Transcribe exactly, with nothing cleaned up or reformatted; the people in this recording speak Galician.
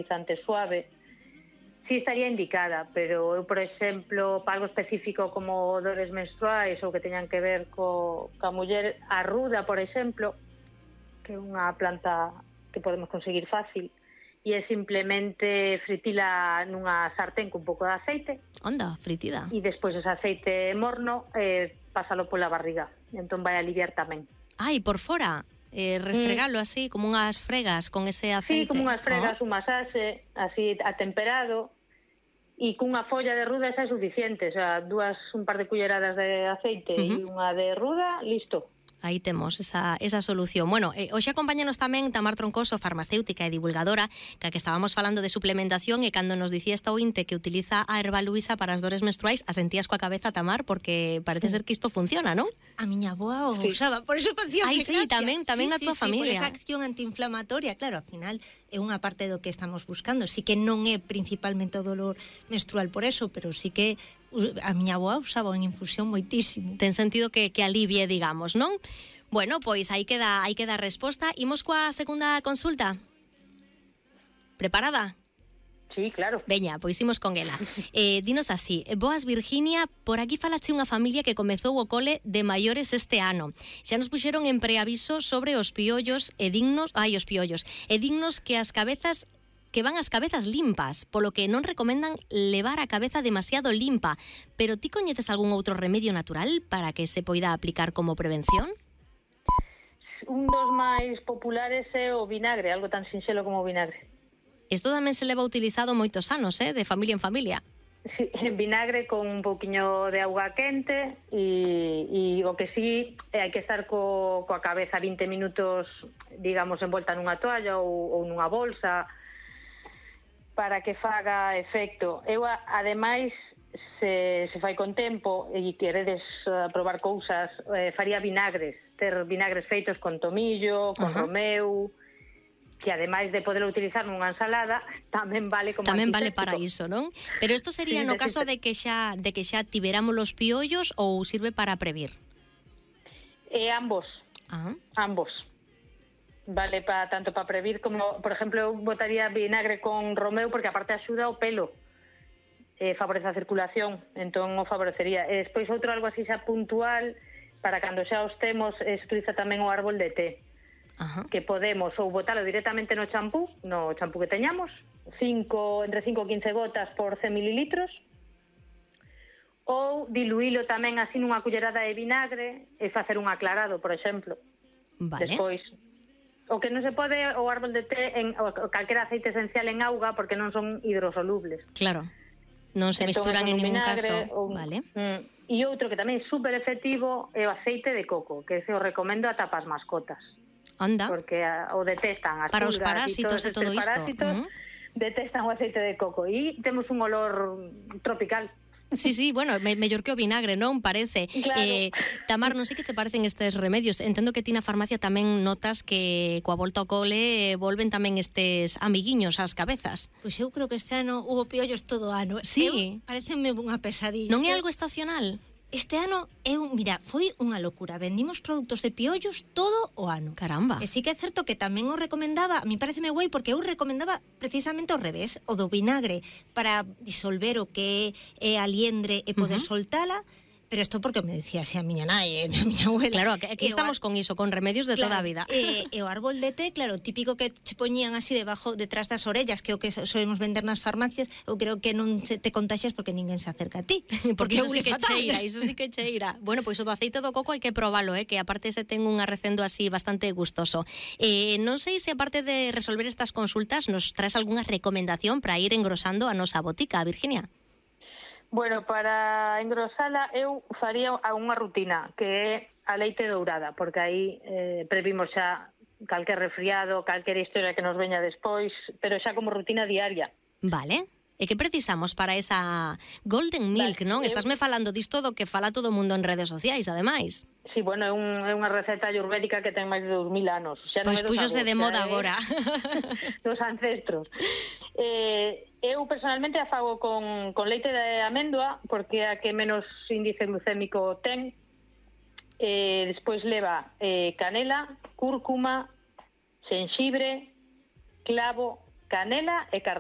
fertilizante suave, sí estaría indicada, pero eu, por exemplo, para algo específico como dores menstruais ou que teñan que ver co, ca muller, a ruda, por exemplo, que é unha planta que podemos conseguir fácil, e é simplemente fritila nunha sartén con un pouco de aceite. Onda, fritida. E despois ese aceite morno, eh, pásalo pola barriga, entón vai aliviar tamén. Ai, por fora, eh, restregalo mm. así, como unhas fregas con ese aceite. Sí, como unhas fregas, oh. un masaxe, así atemperado, e cunha folla de ruda esa é suficiente, o sea, dúas, un par de culleradas de aceite uh-huh. e unha de ruda, listo. Aí temos esa, esa solución. Bueno, eh, hoxe acompáñanos tamén Tamar Troncoso, farmacéutica e divulgadora, que que estábamos falando de suplementación, e cando nos dicía esta ointe que utiliza a erva luisa para as dores menstruais, asentías coa cabeza, Tamar, porque parece ser que isto funciona, non? A miña aboa o sí. usaba, por eso facía Ai, sí, tamén, tamén sí, a tua sí, familia. Sí, por esa acción antiinflamatoria, claro, ao final é unha parte do que estamos buscando. Sí que non é principalmente o dolor menstrual por eso, pero sí que a miña aboa usaba unha infusión moitísimo. Ten sentido que, que alivie, digamos, non? Bueno, pois aí queda, aí queda a resposta. Imos coa segunda consulta. Preparada? Sí, claro. Veña, pois imos con ela. Eh, dinos así, boas Virginia, por aquí falache unha familia que comezou o cole de maiores este ano. Xa nos puxeron en preaviso sobre os piollos e dignos, ai, os piollos, e dignos que as cabezas que van as cabezas limpas, polo que non recomendan levar a cabeza demasiado limpa. Pero ti coñeces algún outro remedio natural para que se poida aplicar como prevención? Un dos máis populares é o vinagre, algo tan sinxelo como o vinagre. Isto tamén se leva utilizado moitos anos, eh, de familia en familia. Sí, vinagre con un pouquiño de auga quente e, e o que sí, hai que estar co, coa cabeza vinte minutos, digamos, envolta nunha toalla ou, ou nunha bolsa, para que faga efecto. Eu, ademais, se, se fai con tempo e queredes uh, probar cousas, eh, faría vinagres, ter vinagres feitos con tomillo, con uh-huh. romeu, que ademais de poder utilizar nunha ensalada, tamén vale como tamén vale para iso, non? Pero isto sería sí, no caso de que xa de que xa tiveramos los piollos ou sirve para previr? Eh, ambos. Ah. Ambos. Vale para tanto para previr como, por exemplo, eu botaría vinagre con romeu porque aparte axuda o pelo, eh, favorece a circulación, entón o favorecería. E despois outro algo así xa puntual para cando xa os temos, eh, se utiliza tamén o árbol de té. Ajá. Que podemos ou botalo directamente no champú, no champú que teñamos, cinco, entre cinco e quince gotas por cen mililitros, ou diluílo tamén así nunha cullerada de vinagre e facer un aclarado, por exemplo. Vale. Despois, o que non se pode o árbol de té en o calquera aceite esencial en auga porque non son hidrosolubles. Claro. Non se entón, mesturan en ningún caso. O, vale. Mm, e outro que tamén é super efectivo é o aceite de coco, que ese o recomendo ata para as mascotas. Anda. Porque a, o detestan as para pulgas os parásitos e todo isto. Parásitos, uh-huh. detestan o aceite de coco e temos un olor tropical. Sí, sí, bueno, me, mellor que o vinagre, non? Parece. Claro. Eh, Tamar, non sei que che parecen estes remedios. Entendo que ti na farmacia tamén notas que coa volta ao cole volven tamén estes amiguiños ás cabezas. Pois eu creo que este ano hubo piollos todo o ano. Sí. Pareceme unha pesadilla. Non é algo estacional? Este ano, eu, mira, foi unha locura. Vendimos produtos de piollos todo o ano. Caramba. E sí que é certo que tamén o recomendaba, a mí pareceme guai, porque eu recomendaba precisamente ao revés, o do vinagre, para disolver o que é a liendre e poder uh-huh. soltala. Pero isto porque me decía así a miña nai e a miña abuela. Claro, aquí, aquí estamos ar... con iso, con remedios de claro, toda a vida. E, e o árbol de té, claro, típico que che poñían así debajo, detrás das orellas, que é o que solemos vender nas farmacias, eu creo que non te contaxias porque ninguén se acerca a ti. Porque, porque iso sí que cheira, iso sí que cheira. Bueno, pois o do aceite do coco hai que probalo, eh, que aparte se ten un arrecendo así bastante gustoso. Eh, non sei se aparte de resolver estas consultas nos traes algunha recomendación para ir engrosando a nosa botica, Virginia. Bueno, para engrosala eu faría unha rutina que é a leite dourada, porque aí eh, previmos xa calquer resfriado, calquer historia que nos veña despois, pero xa como rutina diaria. Vale. E que precisamos para esa golden milk, vale, non? Eu... Estásme falando disto do que fala todo o mundo en redes sociais, ademais. Sí, bueno, é, un, é unha receta ayurvédica que ten máis de dous mil anos. Xa pois non puxose de moda é... agora. Dos ancestros. Eh, eu personalmente a fago con, con leite de amêndoa, porque é a que menos índice glucémico ten. Eh, despois leva eh, canela, cúrcuma, xenxibre, clavo, canela e cardamomo.